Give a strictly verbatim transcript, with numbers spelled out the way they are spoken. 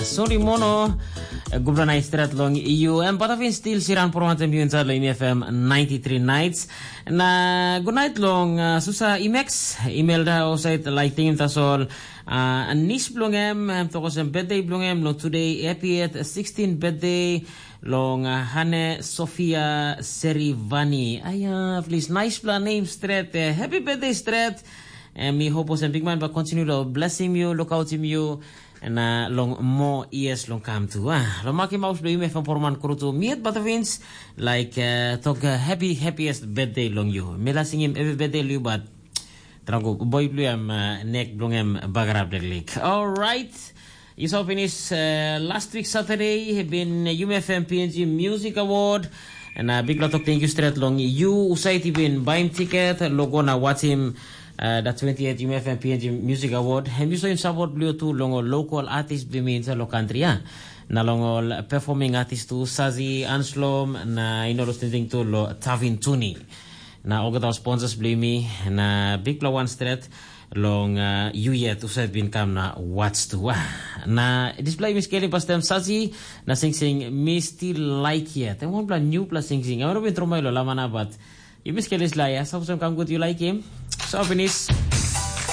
Sori mono, gubra na stret long you. Em patafin still siran por wantem you inside long F M ninety-three nights. Na good night long uh, Susa Imex, Imelda Osait Lighting Tasol. Uh, nis blong em, em tokos em birthday blong em long today, happy at sixteen birthday long uh, Hane Sofia Serivani. Aya, please, nice bla name stret. Uh, happy birthday stret. And mi hope was a big man, but continue to blessing you, look out him you. Na long mo years long kam tu ah. Long makim aus bilong yumi from Porman Krutu miet Batavins, like uh, tok uh, happy happiest birthday long you. Mila singim every birthday long you, but trago boy blue am uh, neck blong em bagarap de lik. All right. You saw finish uh, last week Saturday, been uh, Yumi F M P N G Music Award. Na bikpela tok thank you stret long you usaiti bin baim tiket logo na watchim uh, da twenty-eight Yumi F M P N G Music Award. Hem you saw in support blue tu long local artist bimi in lo country ya. Na long ol performing artist tu Sazi Anslom na ino lo standing tu lo Tavin Tuni. Na olgeta sponsors blue mi na bikpela one stret long uh, you yet usaid bin kam na watch tu. Na display mi skelim pastem Sazi na sing sing mi still like yet. And one bla new bla sing sing. I want to be throw my lo lamana but you miss Kelly's Laya. So some come good you like him. So finish.